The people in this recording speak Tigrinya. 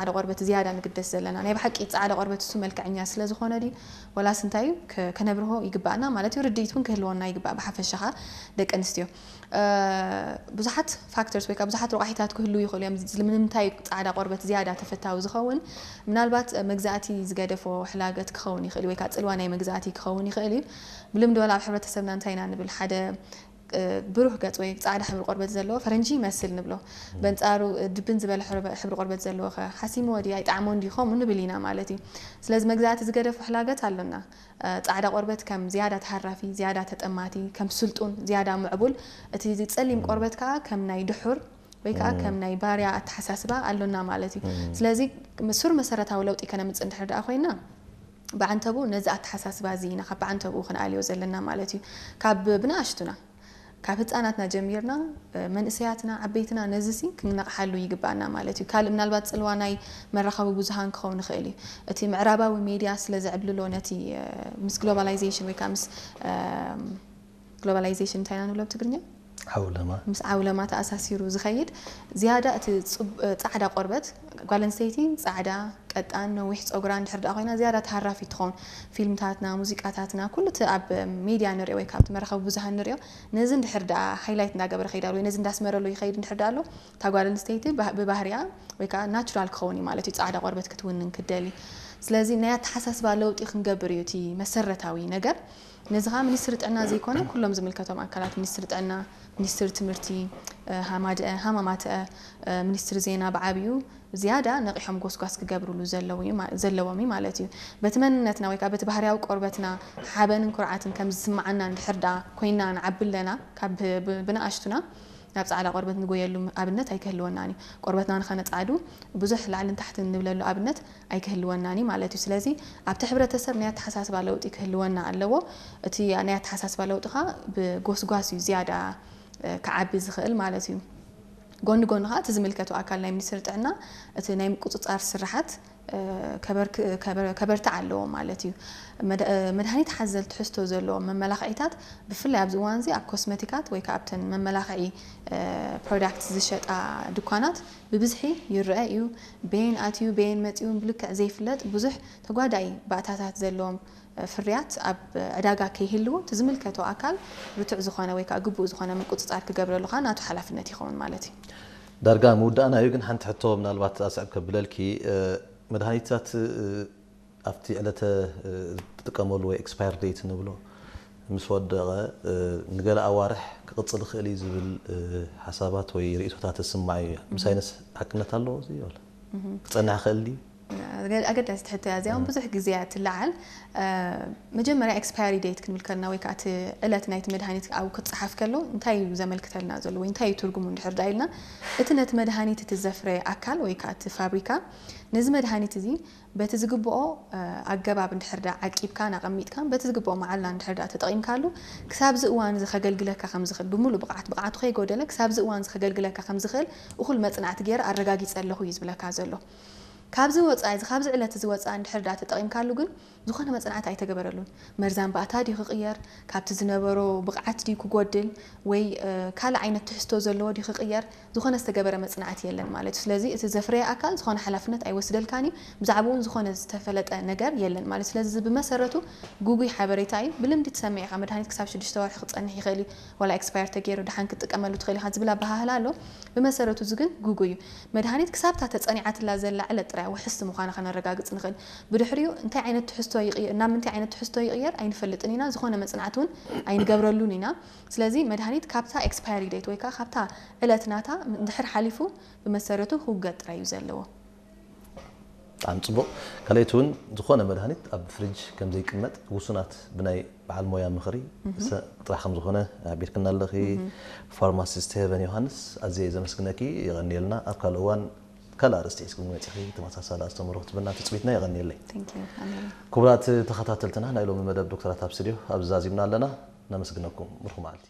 ጻዕዳ ቆርበት ዝያዳ ንግደስ ዘለና? ናይ ብሓቂ ጻዕዳ ቆርበት እሱ መልክዐኛ ስለ ዝኾነ ድዩ? ወላስ እንታይ እዩ? ከ-፣ ከነብርሆ ይግባእና ማለት እዩ። ርድኢት እውን ክህልወና ይግባእ። ብሓፈሻኻ ደቂ ኣንስትዮ፣ እ፣ ብዙሓት ፋክተርስ ወይ ከዓ ብዙሓት ረቋሒታት ክህልዉ ይኽእሉ እዮም። ዝ-፣ ንምንታይ ጻዕዳ ቆርበት ዝያዳ ተፈታዊ ዝኸውን? ምናልባት፣ እ፣ መግዛእቲ ዝገደፎ ሕላገት ክኸውን ይኽእል እዩ፣ ወይ ከዓ ጽልዋ ናይ መግዛእቲ ክኸውን ይኽእል እዩ። ብልምዲ ወላ ኣብ ሕብረተሰብና እንታይ ኢና ንብል? ሓደ፣ እ፣ ብሩህ ገጽ ወይ ጻዕዳ ሕብሪ ቆርበት ዘለዎ ፈረንጂ ይመስል ንብሎ። በንጻሩ፣ እ፣ ድብን ዝበለ ሕብሪ፣ ሕብሪ ቆርበት ዘለዎ ኸ ሓሲምዎ ድዩ? ኣይጠዓሞን ድዩ? ከምኡ ንብል ኢና ማለት እዩ። ስለዚ መግዛእቲ ዝገደፎ ሕላገት ኣሎና። እ፣ ጻዕዳ ቆርበት ከም ዝያዳ ተሃራፊ፣ ዝያዳ ተጠማቲ፣ ከም ስልጡን፣ ዝያዳ ምዕቡል፣ እቲ ጸሊም ቆርበት ከኣ ከም ናይ ድሑር ወይ ከኣ ከም ናይ ባርያ ኣተሓሳስባ ኣሎና ማለት እዩ። ስለዚ ሱር መሰረታዊ ለውጢ ከነምጽእ እንድሕር ደኣ ኮይና፣ ብዓንተቡ ነዚ ኣተሓሳስባ እዚ ኢና ካብ ብዓንተቡ ክንኣልዮ ዘለና ማለት እዩ። ካብ ብንኣሽቱና፣ ካብ ህጻናትና ጀሚርና፣ እ፣ መንእሰያትና፣ ዓበይትና ነዚ ሲ ክንነቕሓሉ ይግባና ማለት እዩ። ካልእ ምናልባት ጽልዋ ናይ መራኸቢ ብዙሃን ክኸውን ይኽእል እዩ። እቲ ምዕራባዊ ሜድያ ስለ ዘዕብልሎ ነቲ፣ እ፣ ምስ ግሎባላይዜሽን ወይ ከኣ ምስ፣ እ፣ ግሎባላይዜሽን እንታይ ኢና ንብሎ ብትግርኛ? ዓውለማ። ምስ ዓውለማ ተኣሳሲሩ ዝኸይድ ዝያዳ እቲ ጽብ-፣ እ፣ ጻዕዳ ቆርበት፣ ጓል ኣንስተይቲ ጻዕዳ፣ ቀጣን፣ ነዊሕ ጸጉራ እንድሕር ደኣ ኮይና ዝያዳ ተሃራፊት ትኸውን። ፊልምታትና፣ ሙዚቃታትና፣ ኩሉ እቲ ኣብ ሜድያ ንሪኦ ወይ ካብ እቲ መራኸቢ ብዙሃን ንሪኦ፣ ነዚ እንድሕር ደኣ ሃይላይት እንዳገበረ ከይድ ኣሎ ወይ ነዚ እንዳስመረሉ ይኸይድ እንድሕር ደኣ ኣሎ፣ እታ ጓል ኣንስተይቲ ብህ-፣ ብባህሪኣ ወይ ከዓ ናቹራል ክኸውን እዩ ማለት እዩ፣ ጻዕዳ ቆርበት ክትውንን ክትደሊ። ስለዚ ናይ ኣተሓሳስባ ለውጢ ክንገብር እዩ እቲ መሰረታዊ ነገር። ነዚ ኸኣ ሚኒስትሪ ጥዕና ዘይኮነ፣ ኩሎም ዝምልከቶም ኣካላት፣ ሚኒስትሪ ጥዕና፣ ሚኒስትሪ ትምህርቲ፣ እ፣ ሃማድአ፣ ሃማማትአ፣ እ፣ ሚኒስትሪ ዜና ብዓቢኡ ዝያዳ ነቒሖም ጎስጓስ ክገብርሉ ዘለዉ እዩ ማ-፣ ዘለዎም እዩ ማለት እዩ። በቲ መንነትና ወይ ከኣ በቲ ባህርያዊ ቆርበትና ሓበንን ኩርዓትን ከም ዝስምዓና እንድሕር ደኣ ኮይንና ንዓቢ ኣለና፣ ካብ ብ-፣ ብ-፣ ብንኣሽቱና ናብ ጻዕዳ ቆርበት ንጎየሉ ኣብነት ኣይክህልወናን እዩ። ቆርበትና ንኸነጻዕዱ ብዙሕ ላዕልን ታሕትን ንብለሉ ኣብነት ኣይክህልወናን እዩ ማለት እዩ። ስለዚ ኣብቲ ሕብረተሰብ ናይ ኣተሓሳስባ ለውጢ ክህልወና ኣለዎ። እቲ ናይ ኣተሓሳስባ ለውጢ ኸኣ ብጎስጓስ እዩ ዝያዳ፣ እ፣ ክዓቢ ዝኽእል ማለት እዩ። ጎኒ ጎኒ ኸኣ እቲ ዝምልከቶ ኣካል ናይ ሚኒስትሪ ጥዕና እቲ ናይ ምቁጽጻር ስራሓት፣ እ፣ ከበርክ-፣ ከበር-፣ ከበርትዕ ኣለዎ ማለት እዩ። መድ-፣ እ፣ መድሃኒት ሓዘል ትሕዝቶ ዘለዎም መመላኽዒታት ብፍላይ ኣብዚ እዋን እዚ ኣብ ኮስመቲካት ወይ ከኣ ኣብተን መመላኽዒ፣ እ፣ ፕሮዳክት ዝሸጣ ድኳናት ብብዝሒ ይረአ እዩ። በየን ኣትዩ በየን መጺኡ ብልክዕ ዘይፍለጥ ብዙሕ ተጓዳኢ ባእታታት ዘለዎም፣ እ፣ ፍርያት ኣብ ዕዳጋ ከይህልዉ እቲ ዝምልከቶ ኣካል ርቱዕ ዝኾነ ወይ ከኣ ግቡእ ዝኾነ ምቁጽጻር ክገብረሉ ከኣ ናቱ ሓላፍነት ይኸውን ማለት እዩ። ዳርጋ ምውዳእና እዩ፣ ግን ሓንቲ ሕቶ ምናልባት ኣስዕብ ከብለልኪ፣ እ፣ መድሃኒታት፣ እ፣ ኣብቲ ዕለተ፣ እ፣ ትጥቀመሉ ወይ ኤክስፓየር ዴት ንብሎ ምስ ወደቐ፣ እ፣ ንገለ ኣዋርሕ ክቕጽል ይኽእል እዩ ዝብል፣ እ፣ ሓሳባት ወይ ርእይቶታት ትስማዕ እዩ። ምስ ሳይንስ ሓቅነት ኣለዎ እዚ ይብል? ክጸንሕ ይኽእል ድዩ? ኣገ-፣ ኣገዳሲት ሕቶ እያ እዚኣ፣ እውን ብዙሕ ግዜ እያ ትለዓል። እ፣ መጀመርያ ኤክስፓየሪ ዴት ክንብል ከለና ወይ ከዓ እቲ ዕለት ናይቲ መድሃኒት ኣብኡ ክጸሓፍ ከሎ እንታይ እዩ ዘመልክተልና ዘሎ ወይ እንታይ እዩ ትርጉሙ እንድሕር ደኣ ኢልና፣ እቲ ነቲ መድሃኒት እቲ ዘፍረየ ኣካል ወይ ከዓ እቲ ፋብሪካ ነዚ መድሃኒት እዚ በቲ ዝግብኦ፣ እ፣ ኣገባብ እንድሕር ደኣ ዓቂብካን ኣቐሚጥካን በቲ ዝግብኦ መዓላ እንድሕር ደኣ ተጠቒምካሉ ክሳብዚ እዋን እዚ ከገልግለካ ከም ዝኽእል ብምሉእ ብቕዓት፣ ብቕዓቱ ከይጎደለ ክሳብዚ እዋን እዚ ከገልግለካ ከም ዝኽእል እኹል መጽናዕቲ ገይረ ኣረጋጊጸ ኣለኹ እዩ ዝብለካ ዘሎ። ካብዚ ወጻኢ እዚ፣ ካብዚ ዕለት እዚ ወጻኢ እንድሕር ደኣ ተጠቒምካሉ ግን ዝኾነ መጽናዕቲ ኣይተገበረሉን። መርዛም ባእታ ድዩ ክቕየር፣ ካብቲ ዝነበሮ ብቕዓት ድዩ ክጎድል፣ ወይ፣ እ፣ ካልእ ዓይነት ትሕዝቶ ዘለዎ ድዩ ክቕየር፣ ዝኾነ ዝተገበረ መጽናዕቲ የለን ማለት እዩ። ስለዚ እቲ ዘፍረየ ኣካል ዝኾነ ሓላፍነት ኣይወስደልካን እዩ፣ ብዛዕባኡ እውን ዝኾነ ዝተፈለጠ ነገር የለን ማለት እዩ። ስለዚ እዚ ብመሰረቱ ግጉይ ሓበሬታ እዩ። ብልምዲ ትሰምዕ ኢኻ፣ መድሃኒት ክሳብ ሽዱሽተ ወርሒ ክጸንሕ ይኽእል እዩ፣ ዋላ ኤክስፓየር ተገይሩ ደሓን ክትጥቀመሉ ትኽእል ኢኻ ዝብል ኣበሃህላ ኣሎ። ብመሰረቱ እዚ ግን ግጉይ እዩ። መድሃኒት ክሳብታ ተጸኒዓትላ ዘላ ዕለት ጥራይ ውሕስቲ ምዃና ከነረጋግጽ ንኽእል። ብድሕሪኡ እንታይ ዓይነት ትሕዝቶ ይቕየር፣ ናብ ምንታይ ዓይነት ትሕዝቶ ይቕየር ኣይንፈልጥን ኢና። ዝኾነ መጽናዕቲ እውን ኣይንገብረሉን ኢና። ስለዚ መድሃኒት ካብታ ኤክስፓየሪ ዴት ወይ ከዓ ካብታ ዕለት ናታ እንድሕር ሓሊፉ ብመሰረቱ ክውገድ ጥራይ እዩ ዘለዎ። ብጣዕሚ ጽቡቕ። ካልኣይቲ እውን ዝኾነ መድሃኒት ኣብ ፍሪጅ ከም ዘይቅመጥ ውሱናት ብናይ በዓል ሞያ ምኽሪ እህ። ሰ-፣ ጥራሕ ከም ዝኾነ ኣቢርክና ኣለኺ። እህ። ፋርማሲስት ሄቨን ዮሃንስ፣ ኣዝየ ዘመስግነኪ፣ የቐንየልና። ኣብ ካልእ እዋን ካልእ ኣርእስቲ ሒዝክም መጺኺ ተመሳሳሊ ኣስተምህሮ ክትብና ትጽቢትና፣ የቐንየለይ። Thank you። ኣሜን። ክቡራት ተኸታተልትና፣ ናይ ሎሚ መደብ ዶክተራት ኣብ ስቱድዮ ኣብዚ ዛዚምና ኣለና። ነመስግነኩም። ምርኹ መዓልቲ።